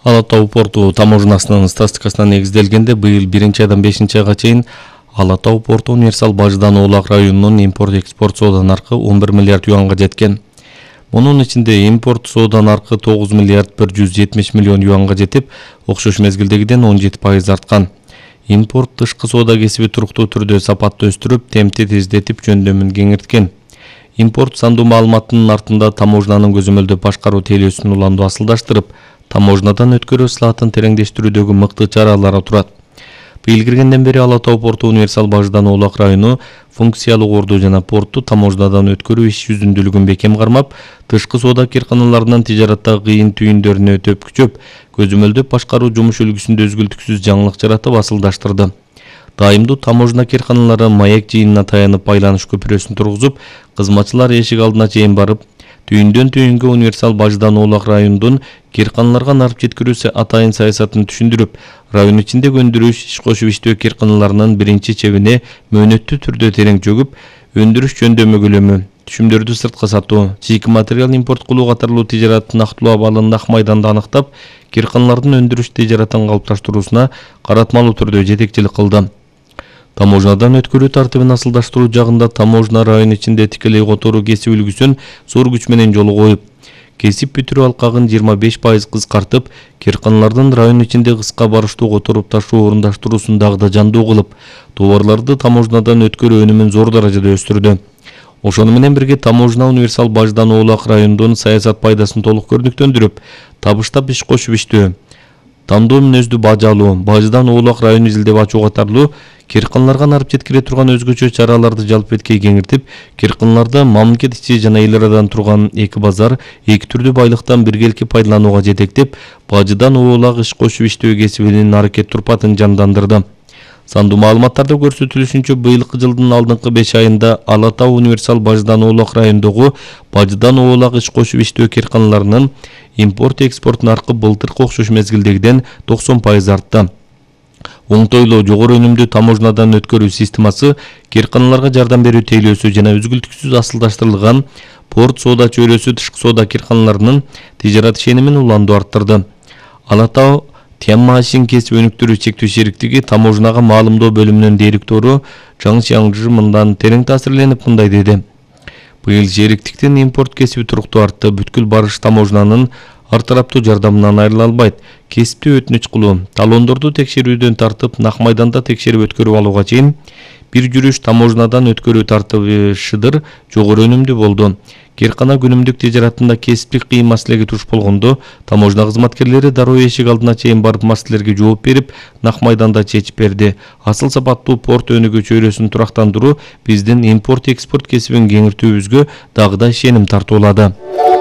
Ала Тоо порту таможнасынын статистикасына негизделгенде быйыл 1-айдан 5-айга чейин Ала Тоо порту универсал баждан Оолак районунун импорт-экспорт соода наркы 11 миллиард юанга жеткен. Мунун ичинде импорт соода наркы 9 миллиард 170 миллион юанга жетип, окшош мезгилдегиден 17% арткан. Импорт тышкы соода кесиби туруктуу түрдө сапатты өстүрүп, темпти тездетип, жөндөмүн кеңирткен. Импорт сандуу маалыматтын артында таможнанын көзөмөлдөө башкаруу тейлөөсүн уланду асылдаштырып, таможнадан өткөрүү слатын тереңдештирүүдөгү мыкты чаралар турат. Быйыл киргенден бери Ала Тоо порту универсал баждан Оолак району функциялык орду жана порту таможнадан өткөрүү иш жүзүндүүлүгүн бекем кармап, тышкы соода кирканаларынын тижараттагы кыйын түйүндөрүнө төпкүчөп, көзөмөлдөп башкаруу жумуш үлгүсүндө үзгүлтүксүз жаңылык жаратып асылдаштырды. Дайымдуу таможна кирканалары маек жыйынына таянып байланыш көпүрөсүн тургузуп, кызматчылар эшик алдына чейин барып, түйүндөн түйүнгө универсал баждан Оолак районунун кирканаларга нарып жеткирүү атайын саясатын түшүндүрүп, район ичинде өндүрүш, иш кошуп иштөө кирканаларынын биринчи чебине мөөнөттүү түрдө терең чөгүп, өндүрүш жөндөмү көлөмү, түшүмдөрдү сыртка сатуу, чийки материал импорт кылуу катарлуу тижараттын актылуу абалын Ак майданда аныктап, кирканалардын өндүрүш тижаратын калыпташтырууна каратмалуу түрдө жетекчилик кылды. Таможнадан өткөрүү тартибин асылдаштыруу жагында таможна район ичинде тикелей которуу кесип үлгүсүн зор күч менен жолго коюп, кесип бүтүрүү алкагын 25% кыскартып, кирканалардын район ичинде кыска барыштуу которуп ташуу орундаштыруусун дагы да жандуу кылып, товарларды таможнадан өткөрүү өнүмүн зор даражада өстүрдү. Ошону менен бирге таможна универсал баждан Оолак районунун саясат пайдасын толук көрнүктөндүрүп, табыштап иш кошуп иштөө, тандоо мүнөздүү бажы алуу, баждан Оолак району изилдеп ачуу катарлуу кирканаларга нарып жеткире турган өзгөчө чараларды жалпыеткей кеңиртип, кирканаларды мамлекет ичи жана эл арадан турган эки базар, эки түрдүү байлыктан биргеликти пайдаланууга жетектеп, бажыдан Оолак иш кошуп иштөө кесибинин аракет турпатын жандандырды. Сандуу маалыматтарда көрсөтүлүшүнчө, быйылкы жылдын алдыңкы 5 айында Ала Тоо универсал баждан Оолак районундагы бажыдан Оолак иш кошуп иштөө кирканаларынын импорт-экспорт наркы былтыркы окшош мезгилдегиден 90% артты. Оңтойлуу, жогору өнүмдүү таможнадан өткөрүү системасы, кирканаларга жардам берүү тейлөөсү жана үзгүлтүксүз асылдаштырылган порт соода чөйрөсү тышкы соода кирканаларынын тижарат ишенимин уланду арттырды. Ала Тоо Тянма-Ашин кесип өнүктүрүү чектөө шериктиги таможнага маалымдоо бөлүмүнүн директору Чаң Чаңжы мындан терең таасирленип мындай деди. Быйыл шериктиктин импорт кесиби туруктуу артты, бүткүл барыш таможнанын ар тараптуу жардамынан айрыла албайт. Кесипти өтүнүч кылуу, талондорду текшерүүдөн тартып, Ак майданда текшерип өткөрүп алууга чейин бир жүрүш таможнадан өткөрүү тартыбы шыдыр жогору өнүмдүү болду. Киркана күнүмдүк тижаратында кесиптик кыйын маселеге туш болгондо, таможна кызматкерлери дароо эшик алдына чейин барып маселелерге жооп берип, Ак майданда чечип берди. Асыл сапаттуу порт өнүгүү чөйрөсүн турактандыруу биздин импорт-экспорт кесибин кеңиртүүбүзгө дагы да ишеним тартуулады.